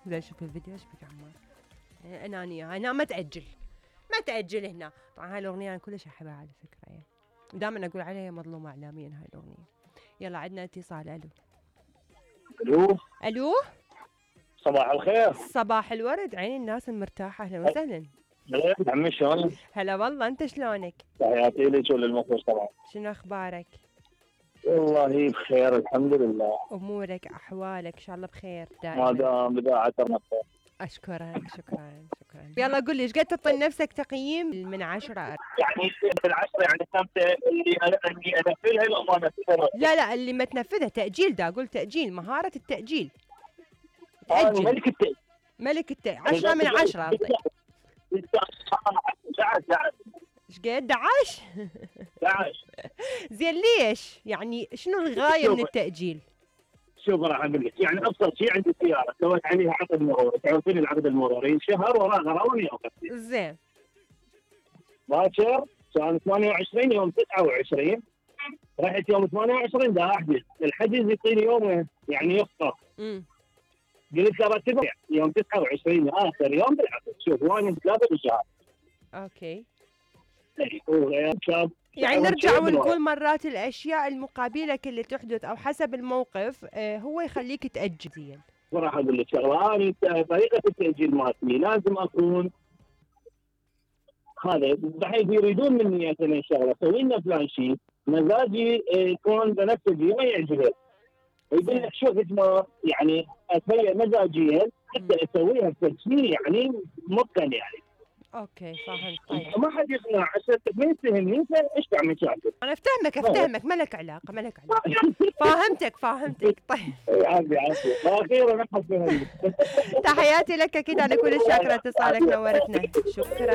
لا شوف الفيديو ايش بك عمار. انانيه هنا ما تاجل هنا. طبعا هاي الاغنيه انا كلش احبها على فكره يعني. ودائما اقول عليها مظلومه اعلاميا هاي الاغنيه. يلا عندنا اتصال. الو صباح الخير. صباح الورد، عين الناس المرتاحه. اهلا وسهلا. عمي شلونك؟ هلا والله، انت شلونك؟ تحياتي لك وللمخرج طبعا. شنو اخبارك؟ والله بخير الحمد لله. امورك احوالك ان شاء الله بخير ما دائما. دام بداعتنا بخير. اشكرك. شكرا. يلا قل لي ايش قد تعطي لنفسك تقييم من 10؟ يعني من 10 يعني خمسة اللي انفذها لو ما انفذها. لا اللي ما تنفذها تاجيل. دا اقول تاجيل، مهاره التاجيل. تاجل ملك التاجيل 10 من 10 اعطيك. 11 ايش قد 11 زين ليش؟ يعني شنو الغايه من التاجيل؟ شوف راح اقول لك، يعني ابسط شيء عندي سياره سويت عليها عقد مروري، تعرفين العقد المروري شهر وراه غراوني اوقف. زين باكر كان 28 يوم 29 رحت يوم 28 دا احجز، الحجز يعطيني يوم يعني يفطر. قلت له رتبه يوم 29 اخر يوم بالعقد. شوف وانا متلابس بالشهر. اوكي. يعني نرجع ونقول مرات الاشياء المقابلك اللي تحدث او حسب الموقف هو يخليك تاجل. زين راح اقول لك شغله، انا طريقه التاجيل مالتي لازم اكون هذا بحيث يريدون مني مثلا شغله سوي لنا فلان شيء، مزاجي يكون بنفسجي ما يعجبه، يقول لك شوف اسمه يعني اتهيأ مزاجيا حتى اسويها بتسجيل يعني ممكن يعني. اوكي فهمت. طيب ما حد يقنع عشان ما يفهمني ايش تعمل مشاكل. انا افتهمك ما لك علاقه. فهمتك. طيب عافية اخيرا احس. تحياتي لك، اكيد انا كل شاكره اتصالك، نورتنا. شكرا.